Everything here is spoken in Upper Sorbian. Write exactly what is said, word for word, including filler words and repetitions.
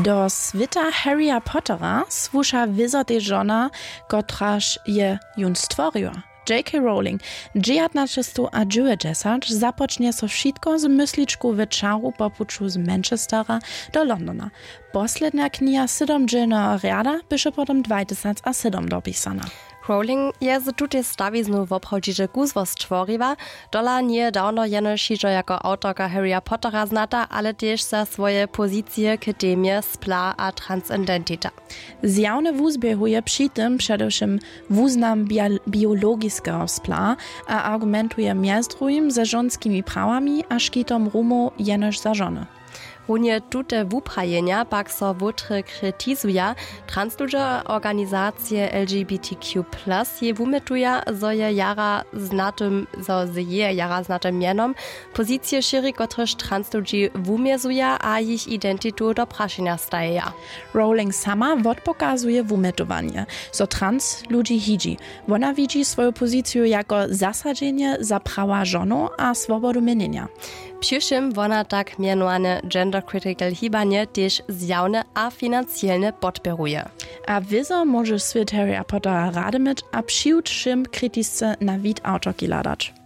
Do swěta Harryja Pottera słuša wězo tež žona, kotraž je jón stworiła. J K Rowling dźewjatnaćestowdźewjećdźesat započnje so wšitko z mysličku w čaru po puću z Manchestera do Londona. Poslednja kniha sydomdźělneho rjada běše potom dwajtysacasydom dopisana. Rowling je z tutej stawiznu woprawdźiće kuzło stworiła. Tola njeje dawno jenož hižo jako awtorka Harryja Pottera znata, ale tež za swoje pozicije k temje spla a transcendentita. Zjawne wuzběhuje při tym předewšěm wuznam biologiskeho spla a argumentuje mjez druhim ze žonskimi prawami a škitom rumow jenož za žony. Runje tute wuprajenja pak so wótry kritizuja. Transludźe organizacije L G B T Q plus jej wumjetuja, zo je jara znatym zo z jeje jara znatym mjenom pozicije šěri, kotrež transludźi wumězuja a jich identitu do prašenja stajeja. Rowling sama wotpokazuje wumjetowanje, zo trans ludźi hidźi. Wona widźi swoju poziciju jako zasadźenje za prawa žonow a swobodu měnjenja. Přiwšěm wona tak mjenowane gender critical hibanje tež zjawne a financielne podpěruje. A wězo móže swět Harryja Pottera rady myć a přiwšěm kritisce na wid awtorki hladać.